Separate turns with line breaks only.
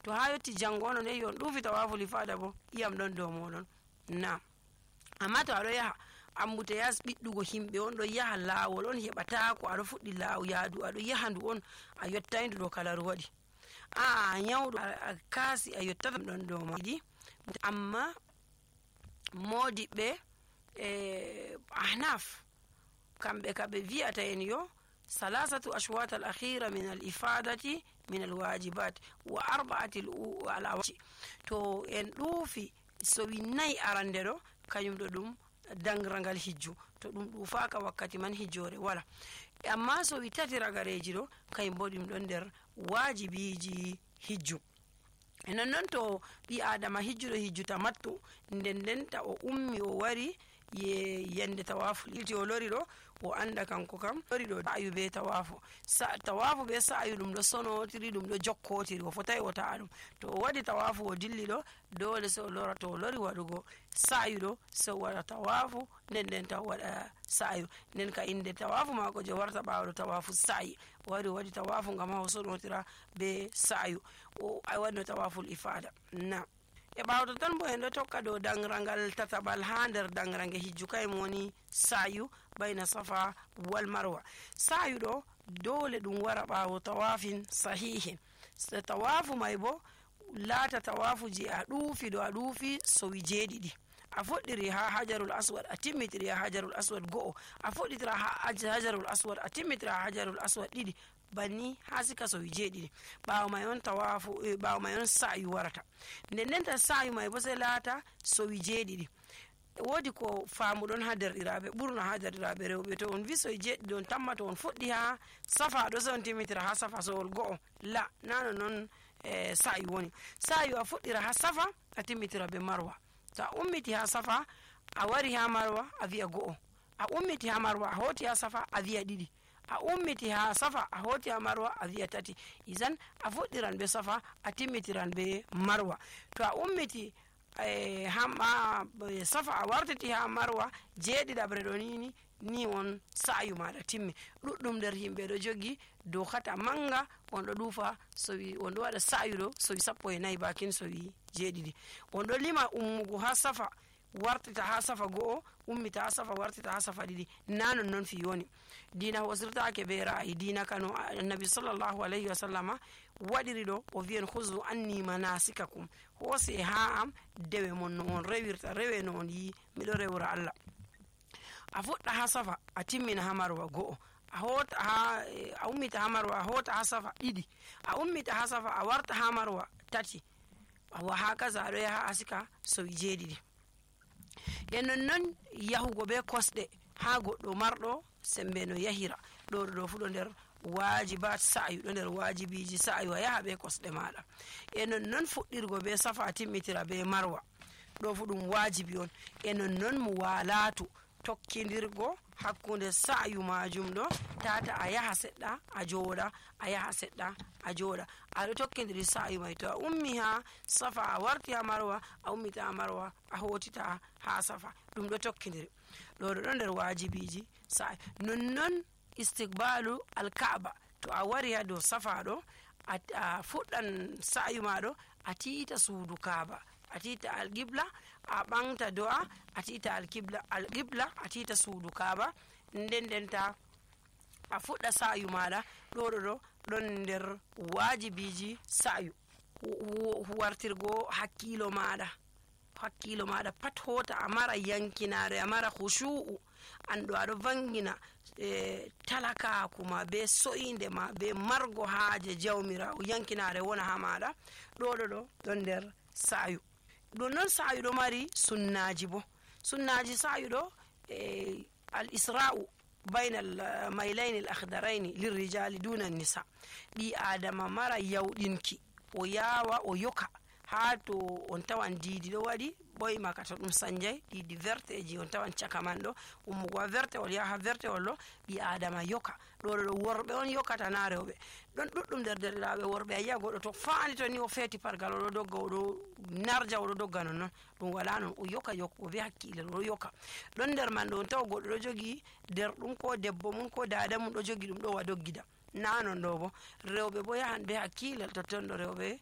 to ha yotti jango on on ɗuufi tawaful ifada bo iyam ɗon dow moɗon. Na amma to aɗo yaha ambute yas ɓiɗɗugo himɓe on ɗo yaha laawol on heɓatako aɗo fuɗɗi yaadu aɗo yaha ndu on a yottai ndu ɗo kalaru waɗi a nyawɗo a kaasi a yottata ɗon dow maɗi. Amma modiɓɓe ahnaf kamɓe kaɓe wi'ata en yo salasatu ashwat al akhira min al ifadati min al wajibat wa arba'ati al awaji. To en ɗuufi so wi nayi arande ɗo kañum ɗo ɗum dangrangal hijju, to ɗum ɗuufaka wakkati man hijjore wala. Amma so wi tati ragareji ɗo kañum bo ɗum ɗon nder wajibiji hijju. Non to ɓi adama hijjuɗo hijju tamattu nden ta o ummi o wari yende tawafu ilti o lori ɗo o anda kanko kam lori ɗo sa'yu be tawafu be sa'yu ɗum ɗo sonotiri ɗum ɗo jokkotiri o fotai o ta'a ɗum. To o waɗi tawafu o dilli ɗo dole se o lora, to o lori waɗugo sa'yu ɗo se o waɗa tawafu nden ta o waɗa sa'yu nden ka inde tawafu mako je warta ɓawaɗo tawafu sa'yi o waɗi tawafu ngam ha o sonotira be sa'yu o waɗino tawaful ifada. Na e ɓawto tan bo en ɗo tokka dow dangrangal tataɓal ha nder dangrange hijju kayum woni sa'yu bayna safa wal marwa. sa'yu ɗo dole ɗum wara ɓawo tawafin sahihin. so tawafu may bo laata tawafu je a ɗuufi so wi jeeɗiɗi. A fuɗɗiri ha hajarul aswad a timmitiri ha hajarul aswad go'o, a fuɗɗitira ha hajarul aswad a timmitira ha hajarul aswad ɗiɗi, banni ha sika so wi jeeɗiɗi. ɓawo may on ɓawo may on sa'yu warata. nden ta sa'yu may bo sai laata so wi jeeɗiɗi. Wodi ko faamuɗon ha derɗiraɓe ɓurna ha derɗiraɓe rewɓe, to on wi so jeeɗiɗi on tamma to on fuɗɗi ha safa ɗo se on timmitira ha safa sowol go'o, la nano non sa'yu woni. sa'yu a fuɗɗira ha safa a timmitira be marwa. To a ummiti ha safa a wari ha marwa a wi'a go'o, a ummiti ha marwa a hoti ha safa a wi'a ɗiɗi, a ummiti ha safa a hoti ha marwa a wi'a tati. Izan a fuɗɗiran be safa a timmitiran be marwa. To a ummiti safa a wartiti ha marwa jeeɗiɗaɓre ɗo ni on sa'yu maɗa timmi. ɗuɗɗum nder himɓe ɗo jogi dokata manga on ɗo ɗuufa sowi on ɗo waɗa sa'yu ɗo sowi 14 bakin sowi jeeɗiɗi. On ɗo lima ummugo ha safa wartita ha safa go'o, ummita ha safa wartita ha safa ɗiɗi. Na non fi woni dina hosirtake be ra'ayi dina kano annabi sallallahu alayhi wa sallama waɗiri ɗo o wi'en huzu anni manasikakum, hoose ha am dewe mon no on rewirta rewe no on yi miɗo rewra Allah. A fuɗɗa ha safa a timmina ha marwa go'o, a ummita ha marwa a hota ha safa ɗiɗi, a ummita ha safa a warta ha marwa tati, wa hakaza aɗo yaha asika sowi jeeɗiɗi. e non yahugo be kosɗe ha goɗɗo marɗo sembe no yahira ɗo fu ɗo nder wajibat sa'yu, ɗo nder wajibiji sa'yu a yaha be kosɗe maɗa. e non fuɗɗirgo be safa timmitira be marwa ɗo fu ɗum wajibi on. e non mo walatu tokkidirgo hakkunde sa'yu majum ɗo tata a yaha seɗɗa a jooɗa, a yaha seɗɗa a jooɗa, aɗo tokkidiri sa'yu may. To a ummi ha safa a warti ha marwa a ummita ha marwa a hotita ha safa, ɗum ɗo tokkidiri. ɗo nder wajibiji sa'yu. non istiqbalu alka'ba, to a wari ha dow safa ɗo a fuɗɗan sa'yu maɗo a tiita suudu kaaba, a tiita alqibla a ɓangta do'a a tiita alqibla a tiita suudu kaaba, ndenta a fuɗɗa sa'yu maɗa. ɗo ɗon nder wajibiji sa'yu. huwartirgo hakkilo maɗa pat hota a mara yankinare, a mara khushu'u, anɗo aɗo vangina talakaku ma be so'inde ma be margo haaje jawmirawo, yankinare wona ha maɗa. ɗon nder sa'yu. ɗum noon sa'yu ɗo mari sunnaji bo. sunnaji sa'yu ɗo al isra'u bayna al mailaini al akhdaraini lirrijali duna nisa. ɗi adama mara yawɗinki o yawa o yoka ha to on tawan diidi ɗo waɗi ɓoyma ka to ɗum sanjay ɗiɗi verteji on tawan caka man ɗo ummugo ha vertewol yaha vertewol ɗo ɓi adama yoka. ɗo worɓe on yokata na rewɓe. ɗon ɗuɗɗum nder derɗiraɓe worɓe a yiya goɗɗo to faani to ni o feeti pargal oɗo dogga oɗo narja oɗo dogga non ɗum wala non, o yoka o be hakkilel oɗo yoka. ɗon nder man ɗo on tawa goɗɗo ɗo jogi derɗum ko debbo mum ko dada mum ɗo jogi ɗum ɗo wa doggida. Na non ɗo bo rewɓe bo yahan be hakkilel totton ɗo rewɓe